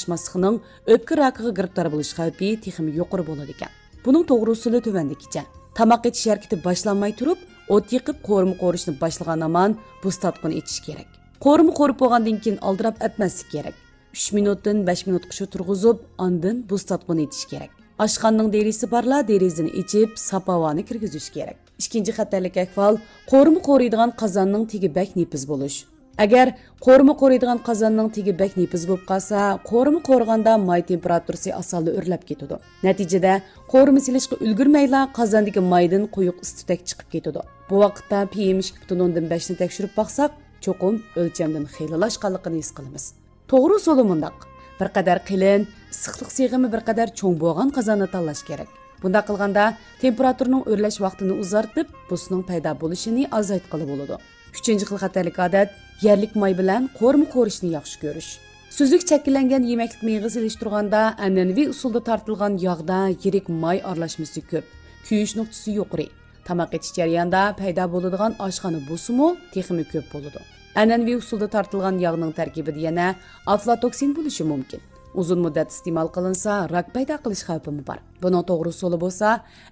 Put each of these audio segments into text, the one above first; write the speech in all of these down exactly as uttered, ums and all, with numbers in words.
ئۇچراشماسلىقنىڭ ئۆپكە راكىغا گىرىپتار بولۇش خەۋپى تېخىمۇ يۇقىرى بولىدىكەن. بۇنىڭ توغرا ئۇسۇلى تۆۋەندىكىچە. تاماق ئېتىش ھەرىكىتى باشلانماي تۇرۇپ، ئوت يېقىپ، قورۇما قورۇشنى باشلىغان ھامان بۇستاتقۇنى ئېتىش كېرەك. قورۇما قورۇپ بولغاندىن كېيىن ئالدىراپ ئەتمەسلىك كېرەك. ئۈچ مىنۇتتىن بەش مىنۇتقىچە تۇرغۇزۇپ، ئاندىن بۇستاتقۇنى ئېتىش كېرەك. ئاشخانىنىڭ دېرىزىسى بارلار دېرىزىنى ئېچىپ، ساپ ھاۋانى كىرگۈزۈش كېرەك. ئىككىنچى خەتەرلىك ئەھۋال، قورۇما قورۇيدىغان قازاننىڭ تېگى بەك نېپىز بولۇش. ئەگەر قورۇما قورۇيدىغان قازاننىڭ تېگى بەك نېپىز بولۇپ قالسا، قورۇما قورۇغاندا ماي تېمپېراتۇرىسى ئاسانلا ئۆرلەپ كېتىدۇ. نەتىجىدە، قورۇما سېلىشقا ئۈلگۈرمەيلا قازاندىكى مايدىن قويۇق ئىس تۈتەك چىقىپ كېتىدۇ. بۇ ۋاقىتتا پىئېم ئىككى پۈتۈن ئوندىن بەشنى تەكشۈرۈپ باقساق، چوقۇم ئۆلچەمدىن خېلىلا ئاشقانلىقىنى ھېس قىلىمىز. توغرا ئۇسۇلى مۇنداق. بىر قەدەر قېلىن، ئىسسىقلىق سىغىمى بىر قەدەر چوڭ بولغان قازاننى تاللاش كېرەك. بۇنداق قىلغاندا، تېمپېراتۇرىنىڭ ئۆرلەش ۋاقتىنى ئۇزارتىپ، بۇسنىڭ پەيدا بولۇشىنى ئازايتقىلى بولىدۇ. ئۈچىنچى خىل خەتەرلىك ئادەت، يەرلىك ماي بىلەن قورۇما قورۇشنى ياخشى كۆرۈش. سۈزۈك چەككىلەنگەن يېمەكلىك مېيىغا سېلىشتۇرغاندا، ئەنئەنىۋى ئۇسۇلدا تارتىلغان ياغدا يىرىك ماي ئارىلاشمىسى كۆپ، كۆيۈش نۇقتىسى يۇقىرى. تاماق ئېتىش جەريانىدا پەيدا بولىدىغان ئاشخانا بۇسىمۇ تېخىمۇ كۆپ بولىدۇ. ئەنئەنىۋى ئۇسۇلدا تارتىلغان ياغنىڭ تەركىبىدە يەنە ئافلاتوكسىن بولۇشى مۇمكىن. ئۇزۇن مۇددەت ئىستېمال قىلىنسا، راك پەيدا قىلىش خەۋپىمۇ بار. بۇنىڭ توغرا ئۇسۇلى بولسا،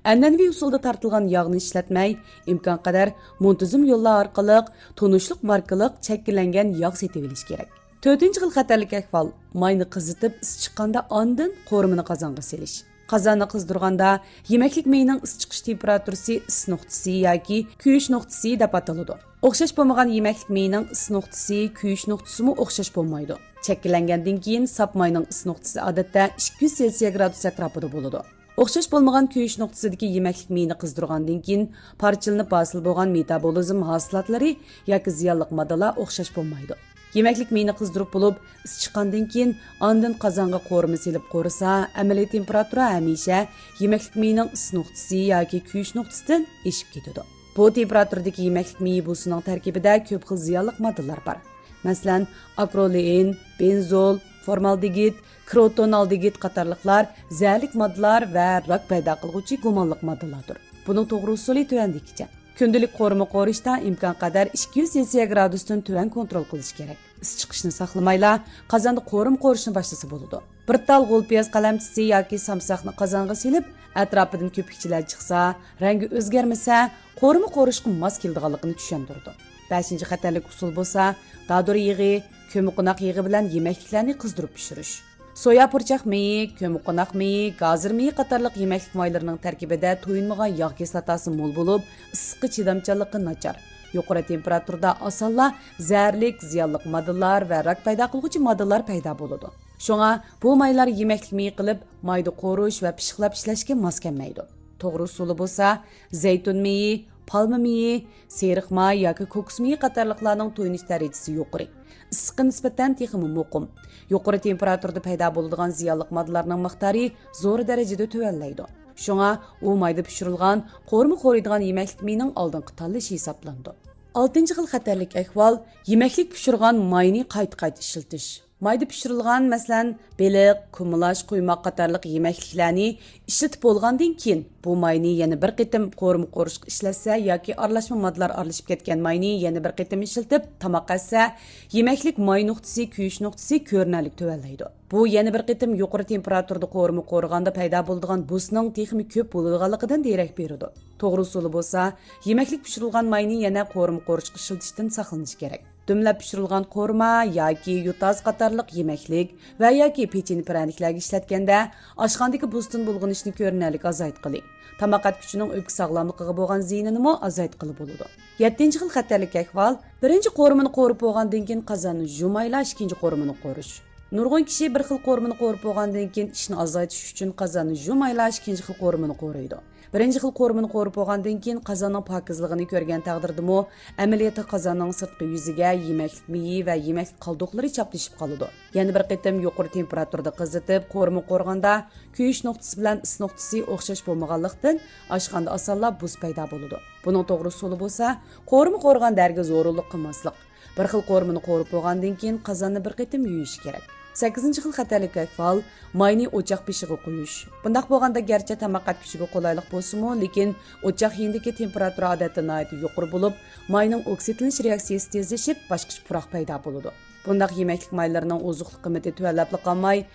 ئەنئەنىۋى ئۇسۇلدا تارتىلغان ياغنى ئىشلەتمەي، ئىمكانقەدەر مۇنتىزىم يوللار ئارقىلىق تونۇشلۇق ماركىلىق چەككىلەنگەن ياغ سېتىۋېلىش كېرەك. تۆتىنچى خىل خەتەرلىك ئەھۋال، ماينى قىزىتىپ، ئىس چىققاندا ئاندىن قورۇمىنى قازانغا سېلىش. قازاننى قىزدۇرغاندا، يېمەكلىك مېيىنىڭ ئىس چىقىش تېمپېراتۇرىسى ئىس نۇقتىسى ياكى كۆيۈش نۇقتىسى دەپ ئاتىلىدۇ. ئوخشاش بولمىغان يېمەكلىك مېيىنىڭ ئىس نۇقتىسى، كۆيۈش نۇقتىسىمۇ ئوخشاش بولمايدۇ. شەكىللەنگەندىن كېيىن ساپ ماينىڭ ئىس نۇقتىسى ئادەتتە ئىككى يۈز سېلسىيە گرادۇس ئەتراپىدا بولىدۇ. ئوخشاش بولمىغان كۆيۈش نۇقتىسىدىكى يېمەكلىك مېيىنى قىزدۇرغاندىن كېيىن پارچىلىنىپ ھاسىل بولغان مېتابولىزم ھاسىلاتلىرى ياكى زىيانلىق ماددىلار ئوخشاش بولمايدۇ. يېمەكلىك مېيىنى قىزدۇرۇپ بولۇپ، ئىس چىققاندىن كېيىن، ئاندىن قازانغا قورۇما سېلىپ قورۇسا، ئەمەلىي تېمپېراتۇرا ھەمىشە يېمەكلىك مېيىنىڭ ئىس نۇقتىسى ياكى كۆيۈش نۇقتىسىدىن ئېشىپ كېتىدۇ. بۇ تېمپېراتۇرىدىكى يېمەكلىك مېيى بۇسىنىڭ تەركىبىدە كۆپ خىل زىيانلىق ماددىلار بار. مەسىلەن، ئاكرولېئىن، بېنزول، فورمالدېگىد، كروتونالدېگىد قاتارلىقلار زەھەرلىك ماددىلار ۋە راك پەيدا قىلغۇچى گۇمانلىق ماددىلاردۇر. بۇنىڭ توغرا ئۇسۇلى تۆۋەندىكىچە. كۈندىلىك قورۇما قورۇشتا ئىمكانقەدەر ئىككى يۈز سېلسىيە گرادۇستىن تۆۋەن كونترول قىلىش كېرەك. ئىس چىقىشنى ساقلىمايلا، قازاندا قورۇما قورۇشنى باشلىسا بولىدۇ. بىر تال غول پىياز قەلەمچىسى ياكى سامساقنى قازانغا سېلىپ، ئەتراپىدىن كۆپۈكچىلەر چىقسا، رەڭگى ئۆزگەرمىسە، قورۇما قورۇشقا ماس كېلىدىغانلىقىنى چۈشەندۈرىدۇ. بەشىنچى خەتەرلىك ئۇسۇل بولسا، دادۇر يېغى، كۆممىقوناق يېغى بىلەن يېمەكلىكلەرنى قىزدۇرۇپ پىشۇرۇش. سويا پۇرچاق مېيى، كۆممىقوناق مېيى، گازىر مېيى قاتارلىق يېمەكلىك مايلىرىنىڭ تەركىبىدە تويۇنمىغان ياغ كىسلاتاسى مول بولۇپ، ئىسسىققا چىدامچانلىقى ناچار. يۇقىرى تېمپېراتۇرىدا ئاسانلا زەھەرلىك، زىيانلىق ماددىلار ۋە راك پەيدا قىلغۇچى ماددىلار پەيدا بولىدۇ. شۇڭا بۇ مايلار يېمەكلىك مېيى قىلىپ، مايدا قورۇش ۋە پىششىقلاپ ئىشلەشكە ماس كەلمەيدۇ. توغرا ئۇسۇلى بولسا، زەيتۇن مېيى، پالما مېيى، سېرىق ماي ياكى كوكۇس مېيى قاتارلىقلارنىڭ تويۇنۇش دەرىجىسى يۇقىرى. ئىسسىققا نىسبەتەن تېخىمۇ مۇقىم. يۇقىرى تېمپېراتۇرىدا پەيدا بولىدىغان زىيانلىق ماددىلارنىڭ مىقدارى زور دەرىجىدە تۆۋەنلەيدۇ. شۇڭا ئۇ مايدا پىشۇرۇلغان، قورۇما قورۇيدىغان يېمەكلىك مېيىنىڭ ئالدىنقى تاللىشى ھېسابلىنىدۇ. ئالتىنچى خىل خەتەرلىك ئەھۋال، يېمەكلىك پىشۇرغان ماينى قايتا-قايتا ئىشلىتىش. مايدا پىشۇرۇلغان، مەسىلەن، بېلىق، كۇمىلاچ، قۇيماق قاتارلىق يېمەكلىكلەرنى ئىشلىتىپ بولغاندىن كېيىن، بۇ ماينى يەنە بىر قېتىم قورۇما قورۇشقا ئىشلەتسە ياكى ئارىلاشما ماددىلار ئارىلىشىپ كەتكەن ماينى يەنە بىر قېتىم ئىشلىتىپ تاماق ئەتسە، يېمەكلىك ماي نۇقتىسى، كۆيۈش نۇقتىسى كۆرۈنەرلىك تۆۋەنلەيدۇ. بۇ يەنە بىر قېتىم يۇقىرى تېمپېراتۇرىدا قورۇما قورۇغاندا پەيدا بولىدىغان بۇسنىڭ تېخىمۇ كۆپ بولىدىغانلىقىدىن دېرەك بېرىدۇ. توغرا ئۇسۇلى بولسا، يېمەكلىك پىشۇرۇلغان ماينى يەنە قورۇما قورۇشقا ئىشلىتىشتىن ساقلىنىش كېرەك. دۈملەپ پىشۇرۇلغان قورۇما ياكى يوتاز قاتارلىق يېمەكلىك ۋە ياكى پېچىنە پىرەنىكلەرگە ئىشلەتكەندە، ئاشخانىدىكى بۇستىن بۇلغىنىشنى كۆرۈنەرلىك ئازايتقىلى، تاماق ئەتكۈچىنىڭ ئۆپكە ساغلاملىقىغا بولغان زىيىنىنىمۇ ئازايتقىلى بولىدۇ. يەتتىنچى خىل خەتەرلىك ئەھۋال، بىرىنچى قورۇمىنى قورۇپ بولغاندىن كېيىن قازاننى يۇمايلا ئىككىنچى قورۇمىنى قورۇش. نۇرغۇن كىشى بىر خىل قورۇمىنى قورۇپ بولغاندىن كېيىن ئىشنى ئازايتىش ئۈچۈن قازاننى يۇمايلا ئىككىنچى خىل قورۇمىنى قورۇيدۇ. بىرىنچى خىل قورۇمىنى قورۇپ بولغاندىن كېيىن قازاننىڭ پاكىزلىقىنى كۆرگەن تەقدىردىمۇ، ئەمەلىيەتتە قازاننىڭ سىرتقى يۈزىگە يېمەكلىك مېيى ۋە يېمەكلىك قالدۇقلىرى چاپلىشىپ قالىدۇ. يەنە بىر قېتىم يۇقىرى تېمپېراتۇرىدا قىزىتىپ، قورۇما قورۇغاندا، كۆيۈش نۇقتىسى بىلەن ئىس نۇقتىسى ئوخشاش بولمىغانلىقتىن، ئاشخانىدا ئاسانلا بۇس پەيدا بولىدۇ. بۇنىڭ توغرا ئۇسۇلى بولسا، قورۇما قورۇغاندا ھەرگىز ھورۇنلۇق قىلماسلىق. بىر خىل قورۇمىنى قورۇپ بولغاندىن كېيىن، قازاننى بىر قېتىم يۇيۇش كېرەك. سەككىزىنچى خىل خەتەرلىك ئەھۋال، ماينى ئوچاق بېشىغا قويۇش. بۇنداق بولغاندا، گەرچە تاماق ئەتكۈچىگە قولايلىق بولسىمۇ، لېكىن ئوچاق يېنىدىكى تېمپېراتۇرا ئادەتتە ناھايىتى يۇقىرى بولۇپ، ماينىڭ ئوكسىدلىنىش رېئاكسىيىسى تېزلىشىپ، باشقىچە پۇراق پەيدا بولىدۇ. بۇنداق يېمەكلىك مايلىرىنىڭ ئوزۇقلۇق قىممىتى تۆۋەنلەپلا قالماي،